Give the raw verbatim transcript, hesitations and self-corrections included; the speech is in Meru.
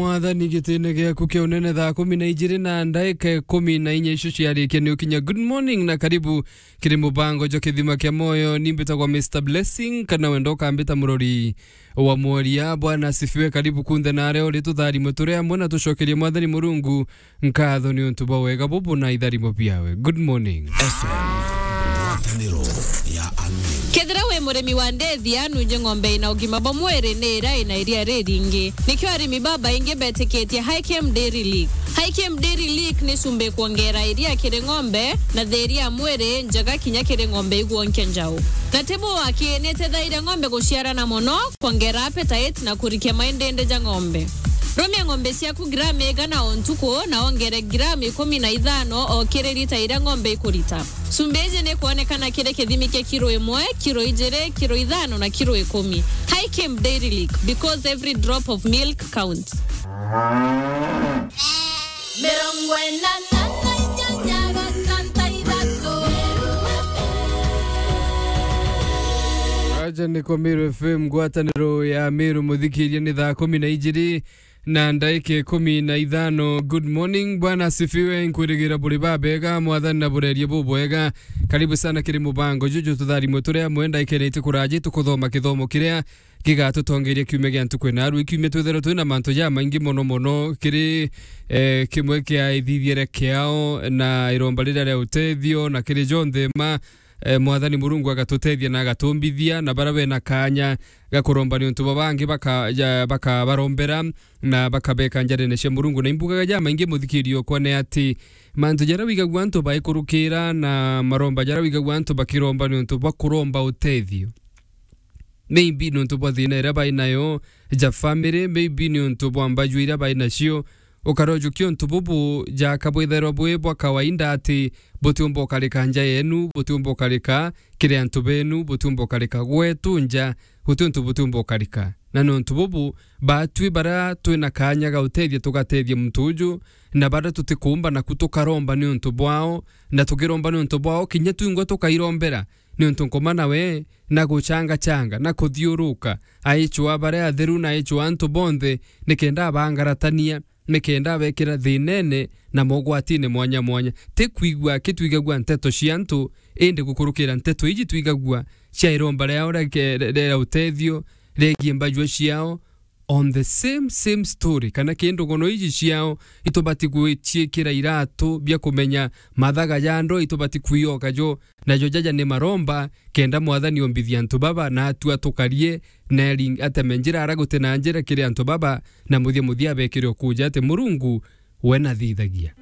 Mwathani, gitine giaku kia unene, thaa kumi na ijiri na ndaika ikumi na inya icio ciarikia ni ukinya. Good morning na karibu kiri mubango jwa Kithima kia Moyo. Ni mbitagwa Mister Blessing, kana wenda ukambita murori wa mworia. Bwana asifiwe. Karibu kunthe na aria uri, tutharimwe turi amwe na tucokerie Mwathani Murungu nkatho ni untu bwa wega bubu na itharimo biawe. Good morning. F M, ngwataniro ya Amiru. Kethira wi murimi wa ndethia, nunje ng'ombe ina ugima bwa mwiri ni iria ina iria riringi. Nikio arimi babaingi betikitie High Chem Dairy Lick. High Chem Dairy Lick ni cumbi kwongera iria kiri ng'ombe na thiria ya mwiri njega kinya kiri ng'ombe igwonkia njau. Na ti buu aki, ni itethairia ng'ombe guciarana mono, kwongera appetite na kurikia maindindi ja ng'ombe. Rumia ng'ombe ciaku gramu igana o ntuku na wongere gramu ikumi na ithano o kiri lita iria ng'ombe ikurita. Cumbi iji ni kwonekana kiri kithimi kia kiro imwe, kiro ijiri, kiro ithano na kiro ikumi. High Chem Dairy Lick, because every drop of milk counts. Mirongo inana na inyanya gatanta ithatu. Aja ni kwa Meru F M, ngwataniro ya Meru, muthikiria, ni thaa kumi na ijiri na ndaika ikumi na ithano. Good morning, Bwana asifiwe, nkwirigira buri babega, Mwathani na burerie bubwega. Karibu sana kiri mubango juju, tutharimwe turi amwe, ndaika ina iti kuraji, tukuthoma kithomo kiria gigatutongeria kiumia gia ntuku ina. Aru, kiumia twithirwa twina mantu jamaingi mono mono kiri, eh, kimwe kia ithithiere kiao na iromba riria ria utethio na kiri jonthe ma, eh, Mwathani Murungu agatutethia na agatumbithia, na bara bena kanya ga kuromba ni untu bwa bangi baka-, ja-, bakabarombera na bakabeka njarene cia Murungu. Na imbugaga jamaingi, muthikirio, okwa ni ati mantu jaria wigagua antu baikurukira na maromba jaria wigagua antu bakiromba ni untu bwa kuromba utethio. Maybe ni untu bwa thina iria bai nayo ja family, maybe ni untu bwa mbaju iria bai nacio. Ukarojukia untu bubu jaka bwithairwa bwi bwa kawaida ati butiumba ukarika nja yenu, butiumba ukarika kiri antu benu, butiumba ukarika gwetu nja, guti untu butiumba ukarika. Na ni untu bubu, batwi baria twina kanya ga utethia tugatethia muntu uju, na baria tutikuumba naku tukaromba ni untu bwao, na tukiromba ni untu bwao, kinya twingwa tukairombera, niuntu nkoma nawe na guchangachanga na kuthiuruka, aichwa baria atheru na aichwa antu bonthe, nikenda abangaratania, nikenda abekira thinene na mogwatine mwanya mwanya. Ti kwigua aki twigagua nteto cia antu, indi gukurukira nteto iji twigagua cia iromba riao ria ke-, ria utethio, riegie mbajua ciao, on the same, same story, kana ki ndogono iji ciao, itubati gwiciikira iratu bia kumenya mathaga ja ndwaa, itubati kwioka jo, najo jaja ni maromba, kenda Mwathani ombithia antu baba, na atua tukarie, na eri-, ateme njira ara guti na njira kiri antu baba, na muthia muthia abekire ukuja ati Murungu we nathithagia.